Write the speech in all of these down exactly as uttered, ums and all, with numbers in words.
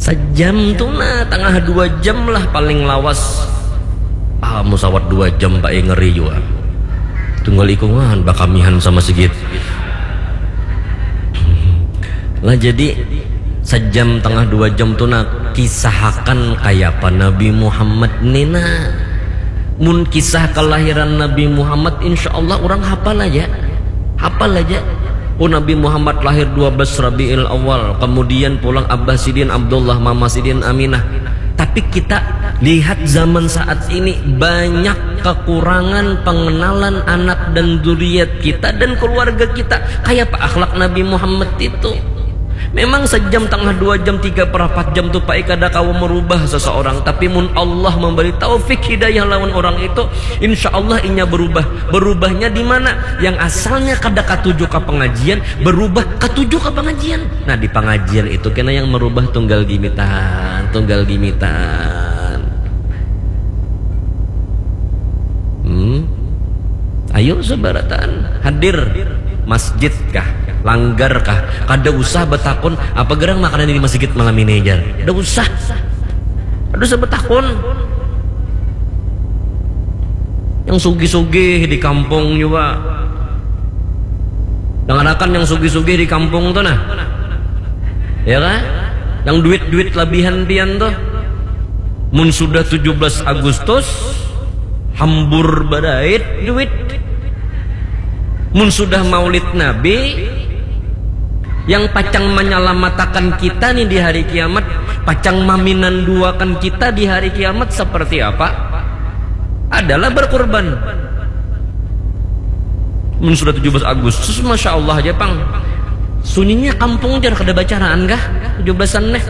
Sajam tu nah, tangah dua jam lah paling lawas. Ah, musawat dua jam, Pak, eh, ngeri jua. Tunggal ikungan bakamihan sama sigit. Lah, jadi sajam tangah dua jam tu nah, kisahakan kayapa Nabi Muhammad ni nah. Mun kisah kelahiran Nabi Muhammad, insya Allah orang hafal aja. Hafal aja. Oh, Nabi Muhammad lahir dua belas Rabiul Awal, kemudian pulang abah sidin Abdullah, mama sidin Aminah. Tapi kita lihat zaman saat ini, banyak kekurangan pengenalan anak dan zuriat kita dan keluarga kita. Kayak apa akhlak Nabi Muhammad itu? Memang sejam tengah dua jam, tiga per empat jam tu, Pak, kada kawa merubah seseorang. Tapi mun Allah memberi taufik hidayah lawan orang itu, insya Allah inya berubah. Berubahnya di mana? Yang asalnya kada katuju ka pengajian, berubah katuju ka pengajian. Nah, di pengajian itu kena yang merubah tunggal gimitan, tunggal gimitan. Hmm. Ayo sebarataan hadir, masjid kah, langgar kah, kada usah betakun apa gerang makanan di masjid malam ini, jar. Kada usah. Kada usah betakun. Yang sugih-sugih di kampung juga. Dangarakan yang sugih-sugih di kampung tu nah. Ya kah? Yang duit-duit labihan pian tu. Mun sudah tujuh belas Agustus, hambur badait duit. Mun sudah Maulid Nabi, yang pacang menyelamatakan kita nih di hari kiamat, pacang maminanduakan kita di hari kiamat seperti apa? Adalah berkurban. Mun sudah tujuh belas Agustus, masya Allah aja, pang. Sunyinya kampung, jar, kada bacaraan kah tujuh belasan nih?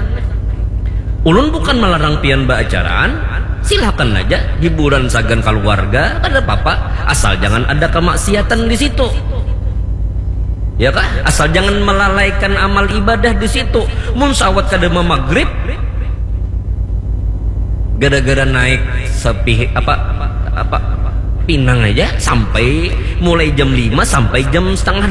Ulun bukan melarang pian baacaraan, silakan aja, hiburan sagan keluarga, kada apa-apa, asal jangan ada kemaksiatan di situ. Ya kah? Asal jangan melalaikan amal ibadah di situ. Mun sawat kada mamagrib, gara-gara naik sepih apa, apa, pinang aja sampai mulai jam lima sampai jam setengah